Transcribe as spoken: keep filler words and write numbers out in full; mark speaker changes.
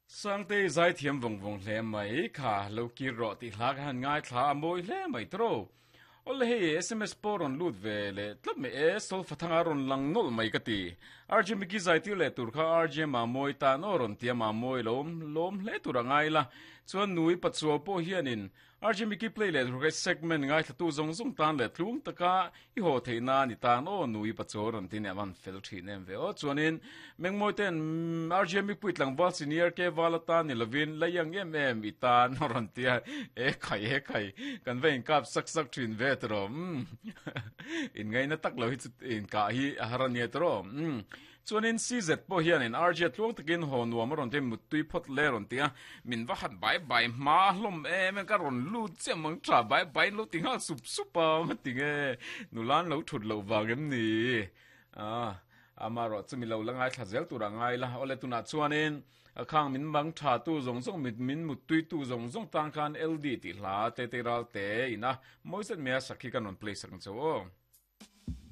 Speaker 1: Sangtei zaithiam vawng vawng hle mai kha lo kir rawh tih hla ka han ngaithla a mawi hle mai tawh. Awle hei S M S pawh rawn lut ve leh tlat mai e, Solfathanga rawn lang nawlh mai ka ti. R J Mickey zaitir leh tur kha R J Mamawi tan aw rawn tia Mamawi lawm lawm hle tur a ngai la. Chuan nui pachuau pawh hianin R J Mickey play leh tur kha segment ngaithlatu zawng zawng tan leh tlung taka i haw theih na ni tan aw nui pachuau rawn ti nia van fel thin em ve aw. Chuanin Mengmawi ten R J Mipui tlangval senior ke val atan ni lovin layang em em i tan rawn tia e khai e khai kan va inkap sak sak thin ve tawh in ngaina tak lo hi chu in ka hi a har ania tawh. Chuanin C Z pawh hianin R J tluang takin haw nuam a rawn ti muttui phawt le rawn tia min va han bai bai hma hlawm em ka rawn lut chiah mang tha bai bai lo ti nghal sup sup a ma tinge nulan lo thut lo wang em ni a ama ro chumi lo la ngai thla zel tur a ngai la. Ole tuna chuanin khang min bang tha tu zong zong mit min mut tui tu zong zong tang khan L D ti hla te te ral te ina moiset mea sakhi kan on play sak chu o.